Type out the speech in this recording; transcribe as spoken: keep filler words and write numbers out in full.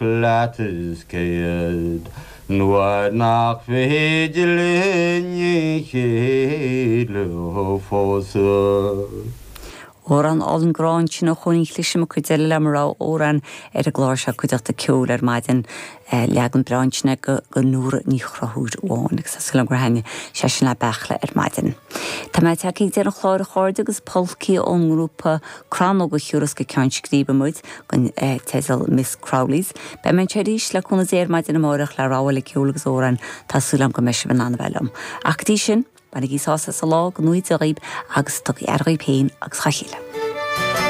Leat is céad nuair nach féidir linn a chéile a phósadh. Amhrán álainn grá ansin ó Chóilín Chlisim cuid eile le mar amhrán ar an gclár seo cuideachta ceoil ar maidin leagan breá ansin go go Nóra Ní Chonchúir amháin agus is gur thaitnigh sé sin le Beachla ar maidin. Tá mé tagtha ag deireadh an chláir a chairde agus polcaí ón ngrúpa Crannóg a thiúrfas go Ceann Scríbe muid den teideal Miss Crowley's. Beidh mé arís le cúnamh Dé ar maidin amárach le rogha eile ceoil agus amhrán tá súil agam go mbeidh sibh in ann a bheith liom. Ach go dtí sin, Bainigí sásamh as an lá go ngnóthaí Dia dhaoibh agus tugaigí aire dhaoibh féin agus dá chéile.